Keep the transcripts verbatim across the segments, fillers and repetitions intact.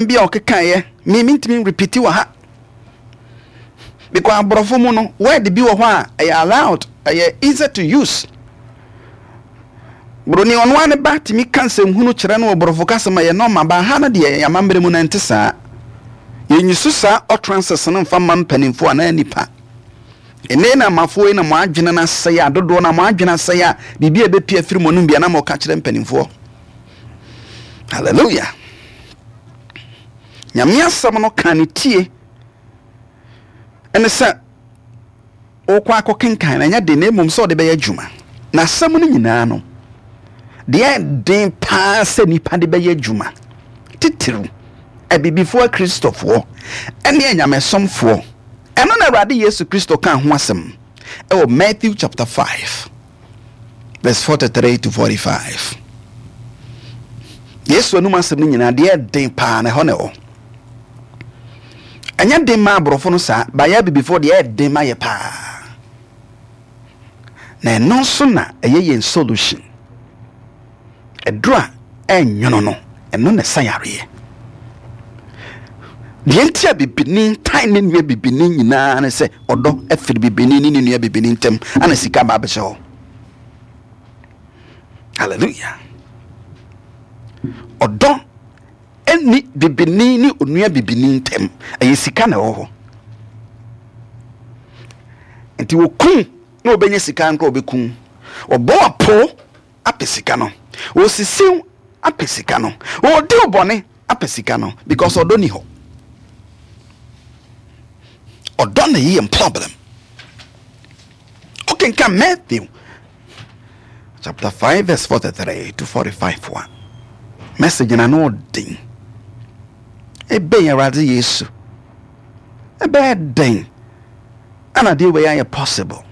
Bi a ɔkekaeɛ me mentumi repeat wɔ ha because aborɔfo mu no, word bi wɔ hɔ a ɛyɛ allowed, ɛyɛ easy to use. Buroni ɔno ara ne ba tumi ka nsɛmhunu kyerɛ no wɔ borɔfo kasa ma yɛ normal ba ha no deɛ, amammerɛ mu no nte saa. Yɛnyi so saa utterances no mfa ma mpanimfoɔ anaa nipa. Ɛnɛ na amafoɔ yi na mo adwene no asɛe a, dodoɔ na mo adwene asɛe a, biribi a ɛbɛpia firi mo anom bia na mo ka kyerɛ mpanimfoɔ. Hallelujah! Nyame asɛm no ka ne tie ɛne sɛ wokɔ akɔkenkan na ɛnyɛ den, na mmom sɛ ɔde bɛyɛ adwuma. Na asɛm no nyinaa no deɛ, den paa sɛ nipa de bɛyɛ adwuma, titiriw abibifoɔ, akristofoɔ ɛne anyamesomfoɔ, ɛno na Awurade Yesu Kristo ka ho asɛm ɛwɔ Matthew chapter five verse forty-three to forty-five. Yesu anum asɛm no nyinaa deɛ, den paa na ɛhɔ na ɛwɔ. Ɛnyɛ den ma aborɔfo no saa, bayɛ abibifoɔ deɛ, ɛden ma yɛ paa. Na ɛno nso na ɛyɛ yɛn solution. Ɛduro a ɛnwono no, ɛno na ɛsa yareɛ. Deɛ nti a bibini tan ne nua bibini nyinaa ne sɛ ɔdɔ afiri bibini ne ne nua bibini ntam, ana sika ba abɛhyɛ hɔ. Hallelujah! Ɔdɔ ɛni bibini ne onua bibini ntam, ɛyɛ sika na ɛwɔ hɔ. Nti wɔkum na wɔbɛnya sika nkora, wɔbɛkum, wɔbɔ apo apɛ sika no, wɔsisiw apɛ sika no, wɔdi wo bɔne apɛ sika no, because ɔdɔ ni hɔ. Ɔdɔ na yɛ problem. Wokenka Matthew chapter five verse forty-three to forty-five a, message na no ɔden ɛbɛn Awurade Yesu ɛbɛyɛ den ana deɛ wei ayɛ possible.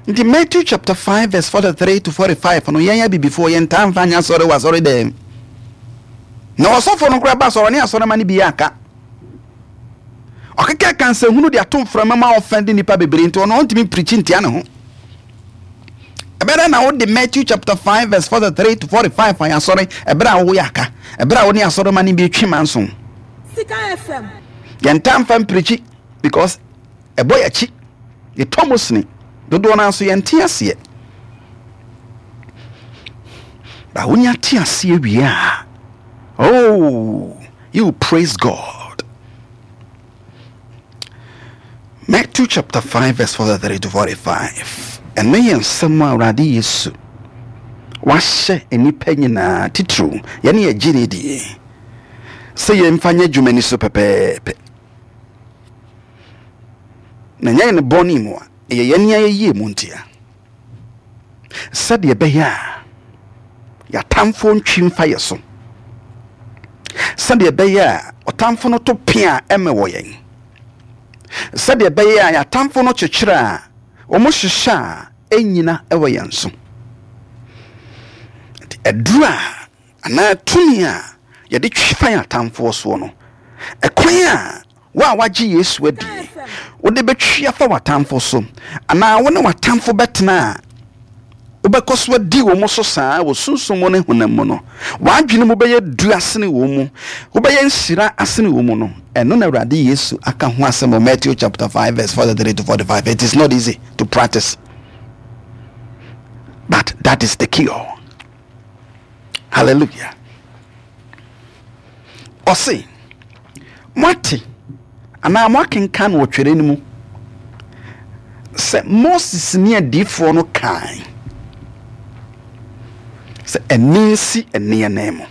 Nti Matthew chapter five verse forty-three to forty-five no, yɛn abibifoɔ yɛntaa mfa nyɛ asɔre wɔ asɔre dɛm, na ɔsɔfo no koraa ba asɔre ne asɔre ma no bi yɛ aka ɔkeka kansahunu de ato mframa ma ɔfɛn de nipa bebree. Nti ɔno ɔntumi preach ntia ne ho. Ɛbɛrɛ na wode Matthew chapter five verse forty-three to forty-five ayɛ asɔre, ɛberɛ a woyɛ aka, ɛberɛ a wo ne asɔre ma no bi twe ma nso. Sika F M. Yɛntaa mfa mpreach because ɛbɔ yɛkyi, yɛtɔ mu sene dodoɔ no nso yɛnte aseɛ ba. Wonya te aseɛ wie a, oh, you praise God. Matthew chapter five verse forty-three to forty-five, ɛno yɛ nsɛm a Awurade Yesu wahyɛ nnipa nyinaa, titiriw yɛne yɛgye ne die, sɛ yɛmfa nyɛ adwuma ni so pɛpɛɛpɛ na nyɛ ne bɔne mu a ɛyɛ yɛne ayɛyie mu ntia, sɛdeɛ ɛbɛyɛ a yɛatamfoɔ ntwi mfa yɛ so, sɛdeɛ ɛbɛyɛ a ɔtamfo no to pea a ɛmɛ wɔ yɛn, sɛdeɛ ɛbɛyɛ a yɛatamfo no kyekyere a wɔn hyehyɛ a ɛnyina ɛwɔ yɛn so. Nti ɛduru a anaa tumi a yɛde twi fa yɛn atamfoɔ soɔ no, ɛkwan a wo a wagye Yesu adi wode bɛtwi afa w'atamfo so, anaa wo ne w'atamfo bɛtena a wobɛkɔ so adi wɔn mo so saa wɔ sunsum mu ne honam mu no, w'adwene mu bɛyɛ du asene wɔn mu, wobɛyɛ nhyira asene wɔn mu no, ɛno na Awurade Yesu aka ho asɛm wɔ Matthew chapter five verse forty-three to forty-five. It is not easy to practice, but that is the cure. Hallelujah! Ɔse moate anaa moakenkan wɔ twerɛ no mu sɛ Moses ne adiifoɔ no kae sɛ ɛne nsi ɛne anan mu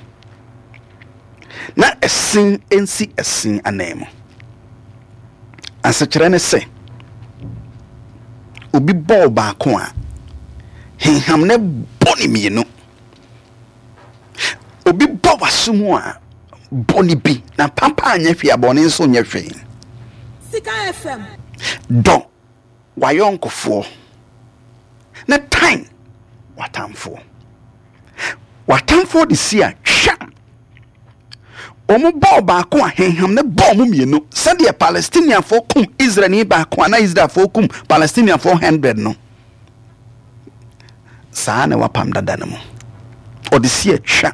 na ɛsen nsi ɛsen anan mu. Asekyerɛ ne sɛ obi bɔɔ baako a, henham ne bɔ ne mmienu. Obi bɔ w'aso mu a, bɔ ne bi. Na papa anyɛ hwee a, bɔne nso nyɛ hwee. Sika F M. Dɔ w'ayɔnkofoɔ na tan w'atamfoɔ. W'atamfoɔ de si a twa wɔn bɔɔ baako a, henham ne bɔɔ mu mmienu, sɛdeɛ Palestiniafoɔ kum Israelni baako a na Israelfoɔ kum Palestiniafoɔ hundred no saa na wapam dada no mu. Ɔde si atwa.